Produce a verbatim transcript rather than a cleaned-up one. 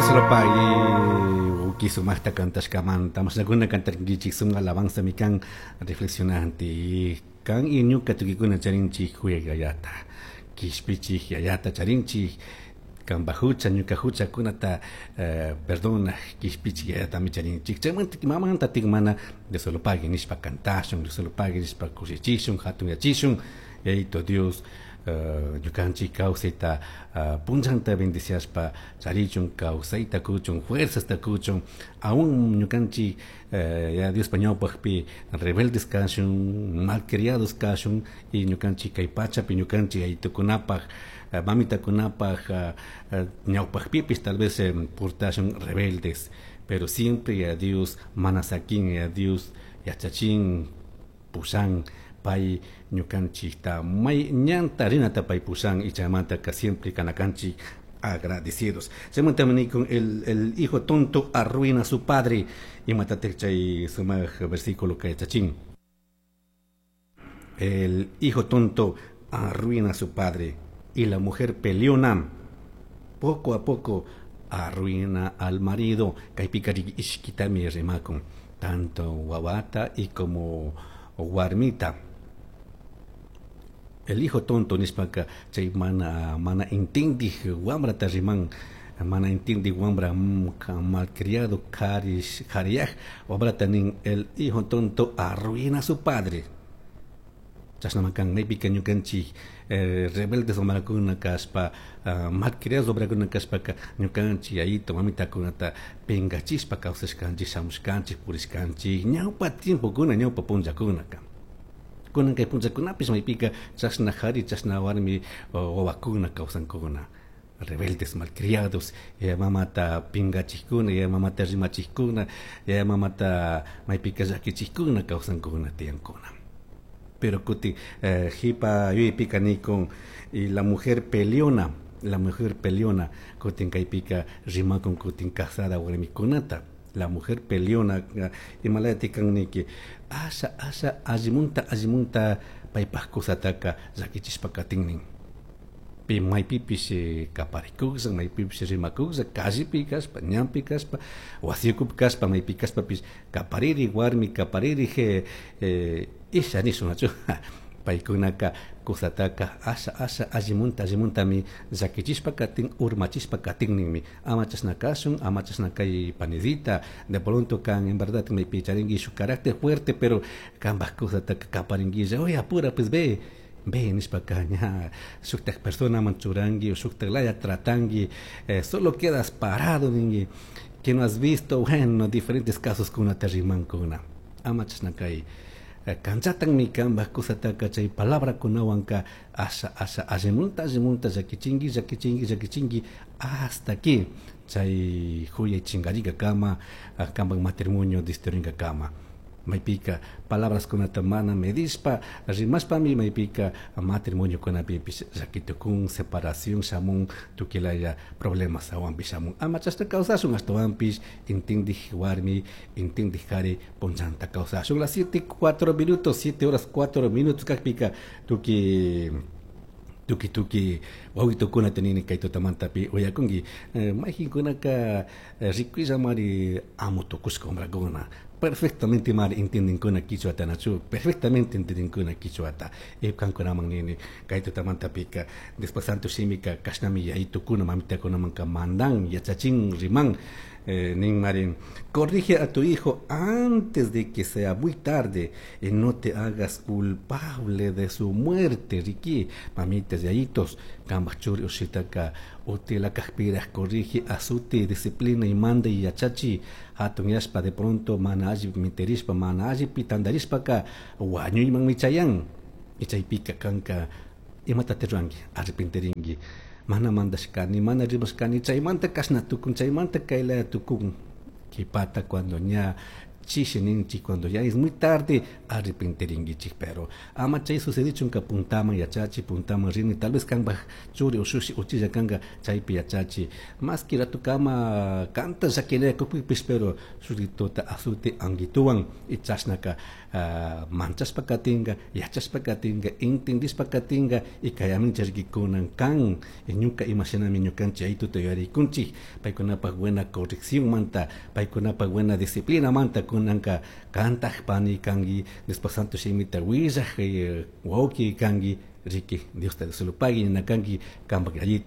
Dios lo pague. Uki sumaqta kantashkamanta mashnakuna kantarkinkichik sumaq alabanza mi kan reflexionante kan y ñuka tukikuna charinchik huyay yayata kishpichik yayata charinchik kanpa hucha ñuka huchakunata eh, perdona kishpichik yayatami charinchik chaymanta mamanta mana Dios lo pague nishpa kantashun Dios lo pague nishpa kushichishun hatunyachishun yayito Dios uh, ñukanchik kawsayta uh, punchanta bendiciashpa charichun kawsayta kuchun fuerzasta kuchun aún ñukanchik uh, ya Diospa ñawpaqpi rebeldes kashun malcriados kashun y ñukanchik kay pachapi ñukanchik yayitukunapaq uh, mamitakunapaq uh, uh, ñawpaqpipis tal vez eh, portashun rebeldes pero siempre ya Dios mana sakin ya Dios yachachin pushan pay ñukanchikta may ñanta rinata pay pushan y chaymantaka siempre kanakanchik agradecidos. Chaymanta con el, el hijo tonto arruina a su padre imatatik chay sumaq versículo kay yachachin. El hijo tonto arruina a su padre y la mujer peleona poco a poco arruina al marido. Kaypika ishkitami rimakun tanto wawata y como warmita. El hijo tonto nishpaka chay mana mana intindij wamrata riman mana intindij wambra malcriado karish kariyaj wamrata nin el hijo tonto arruina a su padre. Chashnaman kan maypika ñukanchik eh, rebeldes wamrakuna kashpa uh, malcriados wamrakuna kashpaka ñukanchik yayito mamitakunata pingachishpa kawsashkanchik shamushkanchik purishkanchik ñawpa tiempokuna ñawpa punllakunaka kunan kay punllakunapish maypika chashna qhari chashna warmi wawakuna kawsankuna rebeldes malcriados yaya mamata pingachikkuna yaya mamata rimachikkuna yaya mamata maypika llakichikkuna kawsankuna tiyankuna pero kuti eh, jipa yuyaypika nikun y la mujer peleona la mujer peleona kutin kaypika rimakun kutin casada warmikunata la mujer peleona imalayati kan niki asha asha allimunta allimunta paypaj kusataka llakichishpa katinnin pi maypipish kaparikuklla maypipish rimakuklla callepi kashpa ñanpi kashpa wasi ukupi kashpa maypi kashpapish kapariri warmi kapariri eh, isha nishunachu paykunaka kusataka asha asha allimunta allimuntami llakichishpa katin urmachishpa katinninmi ama chashna kashun ama chashna kay panidita de pronto kan en verdad maypi charinki shuk carácter fuerte pero kanpaj kusataka kaparinquilla oye apura pues ve ve nishpaka ña shuktak personaman churanki o shuktak laya tratanki eh, solo quedas parado ninki que no has visto bueno diferentes casos kunata rimankuna ama chashna kay kanchatanmi kanpaj kusataka chay palabrakunawanka asha asha allimunta allimunta llakichinki llakichinki llakichinki hasta que chay huyay chinkarikakama kanpak matrimonio destruinkakama maypika palabras kunata mana medishpa rimashpami maypika matrimoniokunapipish llakitukun separación shamun tukilaya problemas awanpish shamun ama chashna kawsashun ashtawanpish intindij warmi intindij kari punchanta kawsashun las siete cuatro minutos siete horas cuatro minutos kakpika tuki tuki tuki wawitukuna tenini kay tutamantapi uyakunki eh, mayjinkunaka rikuylla amo tukushka wamrakuna perfectamente mari entiendenkuna quichuata nachu perfectamente entiendenkuna quichuata y kankunaman nini kay tutamantapika después santo shimika kashnami yayitukuna mamitakunamanka mandan yachachin riman eh, nin marin corrige a tu hijo antes de que sea muy tarde y no te hagas culpable de su muerte riki mamitas yayitos kambaj churi ushitaka utila kajpiraj corrige azute disciplina y manda y yachachi hatun yashpa de pronto mana alli miterishpa mana alli pitandarishpaka wañuyman michayan y chaypika kanka imatati ruranki arrepentirinki mana mandashkani mana rimashkani chaymanta kashna tukun chaymanta kaylaya tukun kipata cuando ña Chishi ninchik cuando ya es muy tarde arrepentiringuichik, pero ama chay sucedichunka puntaman yachachi, puntaman rini, tal vez kanpaj churi ushushi uchilla kanka chaypi yachachi, más que ratukama kanta llaquinakupipish, pero shukituta azute anguituwan y chashnaka uh, manchashpa katinka, yachashpa katinka, entendishpa katinka y kayamincha rikikunan kan ñuka imashinami ñukanchik aytuta yuyarikunchik paykunapaj buena corrección manta, paykunapaj buena disciplina manta kunanka kantaj pani kanki, después santo shimita willaj wawki kanki, riki Dios te pagui nina kanki kanpak yayito.